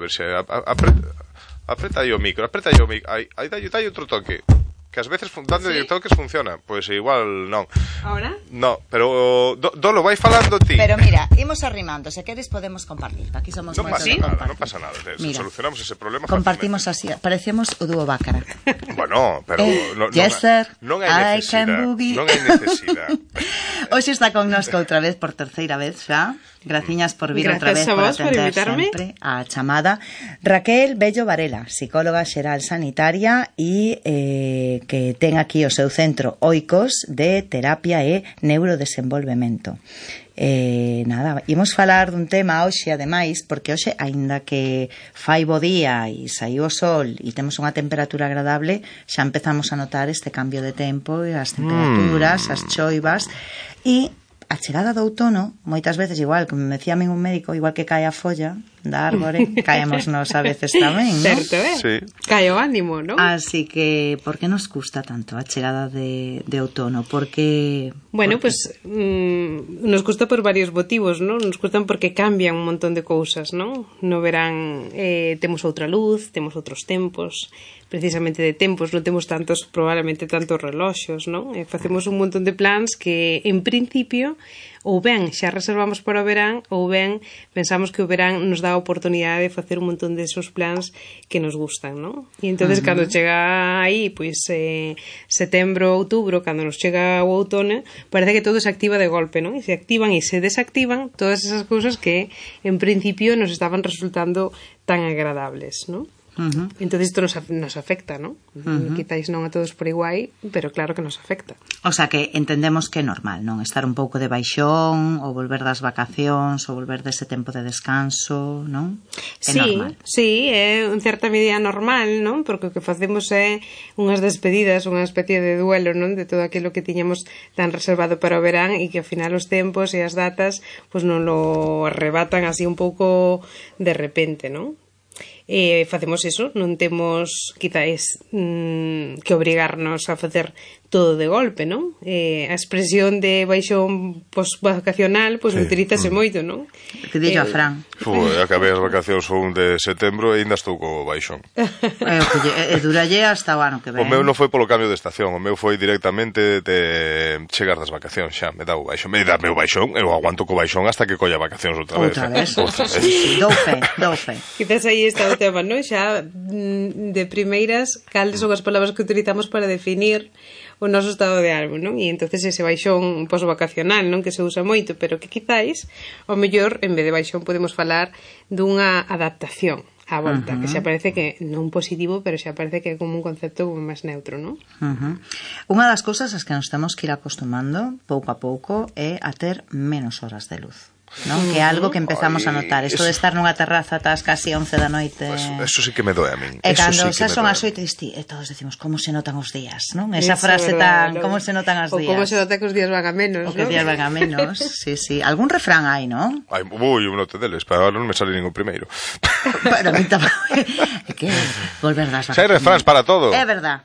ver se apreta aí o micro, aí dai outro toque. Que ás veces dando de toques funciona. Pois igual non. Ahora? No, pero Dolo, vai falando ti. Pero mira, imos arrimando. Se queres podemos compartir. Aquí somos Non moitos pasa de nada, compartir. non pasa nada. Mira, Solucionamos ese problema compartimos así. Parecemos o dúo Bácara. Bueno, pero Yes, sir. non hai necesidade. Non hai necesidade. Hoxe está connosco outra vez por terceira vez xa. Graciñas por vir outra vez, por atender sempre a chamada. Raquel Bello Varela, psicóloga xeral sanitaria e que ten aquí o seu centro Oikos de terapia e neurodesenvolvemento. Nada, imos falar dun tema hoxe, ademais, porque hoxe, aínda que fai bo día e saiu o sol e temos unha temperatura agradable, xa empezamos a notar este cambio de tempo e as temperaturas, as choivas e a chegada do outono, moitas veces igual, como me decía a min un médico, igual que cae a folla da árbore, caemos nos a veces tamén, ¿no? Certo, Sí. Cae o ánimo, ¿no? Así que, por que nos custa tanto a chegada de outono? Porque... Bueno, pues nos custa por varios motivos, ¿no? Nos custan porque cambian un montón de cousas, ¿no? No verán, temos outra luz, temos outros tempos, precisamente de tempos, non temos tantos, probablemente tantos reloxos, ¿no? Facemos un montón de plans que, en principio, ou ben xa reservamos para o verán, ou ben pensamos que o verán nos dá a oportunidade de facer un montón de esos plans que nos gustan, ¿no? E entonces cando chega aí, pois setembro, outubro, cando nos chega o outono, parece que todo se activa de golpe, ¿no? E se activan e se desactivan todas esas cousas que en principio nos estaban resultando tan agradables, ¿no? Entonces isto nos afecta, ¿no? Quizáis non a todos por igual, pero claro que nos afecta. O sea que entendemos que é normal, non? Estar un pouco de baixón, ou volver das vacacións, ou volver dese tempo de descanso, non? É normal. Sí, é en certa medida normal, non? Porque o que facemos é unhas despedidas, unha especie de duelo, non? De todo aquilo que tiñamos tan reservado para o verán e que ao final os tempos e as datas pues non lo arrebatan así un pouco de repente, non? Facemos eso, non temos quizáis que obrigarnos a facer todo de golpe, non? A expresión de baixón post-vacacional pois utilízase moito, non? Que dillo a Fran. Acabei as vacacións o 1 de setembro e ainda estou co baixón. Duralle hasta o ano que ven. O meu non foi polo cambio de estación, o meu foi directamente de chegar das vacacións xa, me dá o baixón. Me dá o baixón, eu aguanto co baixón hasta que colla vacacións outra vez. Outra vez. Dou fe. Quizás aí está o tema, non? Xa de primeiras, cales son as palabras que utilizamos para definir o noso estado de ánimo, non? E entonces ese baixón posvacacional, non? Que se usa moito, pero que quizáis, ao mellor, en vez de baixón, podemos falar dunha adaptación á volta, que xa parece que non positivo, pero xa parece que é como un concepto como máis neutro, non? Unha das cousas as que nos temos que ir acostumando pouco a pouco é a ter menos horas de luz, non? Que é algo que empezamos a notar. Isto de estar nunha terraza ás casi 11 da noite. Eso sí que me doe a min. E cando xa son as 8 e todos decimos como se notan os días, non? Esa frase tan, como se notan os días. O como se nota que os días van a menos, non? O que os días van a menos, sí. Algún refrán hai, non? Un note deles, pero non me sale ningún primeiro. Pero a mí tamén. É que volver das vacacións. Xa hai refráns para todo. É verdad.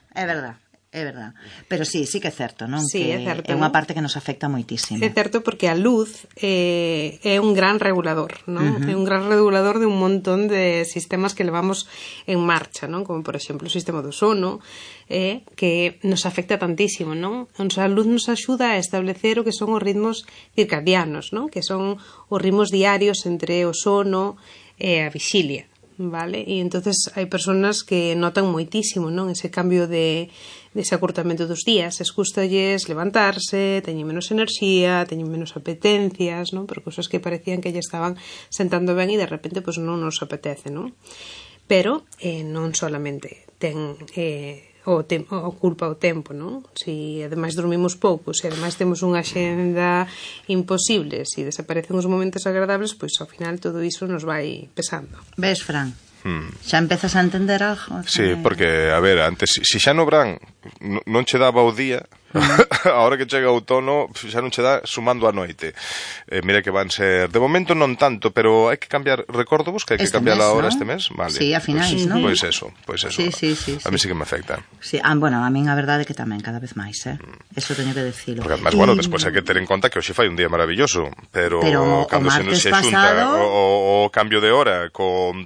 Pero sí que é certo, non? Sí, que é certo, é unha parte que nos afecta moitísimo. É certo porque a luz é un gran regulador, non? É un gran regulador de un montón de sistemas que levamos en marcha, non? Como, por exemplo, o sistema do sono, que nos afecta tantísimo, non? A luz nos axuda a establecer o que son os ritmos circadianos, non? Que son os ritmos diarios entre o sono e a vixilia, vale? E entonces hai persoas que notan moitísimo, non? Ese cambio dese acurtamento dos días, escústalles levantarse, teñen menos enerxía, teñen menos apetencias, non? Por cousas que parecían que lle estaban sentando ben e de repente pois non nos apetece, non? Pero non solamente ten o culpa o tempo, non? Se ademais dormimos pouco, se ademais temos unha xenda imposible, se desaparecen os momentos agradables, pois ao final todo iso nos vai pesando. Ves, Fran? Xa empezas a entender algo? Sí, porque, a ver, antes, se xa no verán non che daba o día, a hora que chega o outono xa non che dá sumando a noite. Mira que van ser, de momento non tanto, pero hai que cambiar, recordo vos que hai que cambiar a hora este mes, vale. Sí, a finais, non? Pois eso. Sí. A mí sí que me afecta. Sí, bueno, a min a verdade é que tamén cada vez máis, Eso teño que decirlo. Porque además, bueno, despois hai que ter en conta que hoxe fai un día maravilloso, pero cando se xunta o cambio de hora con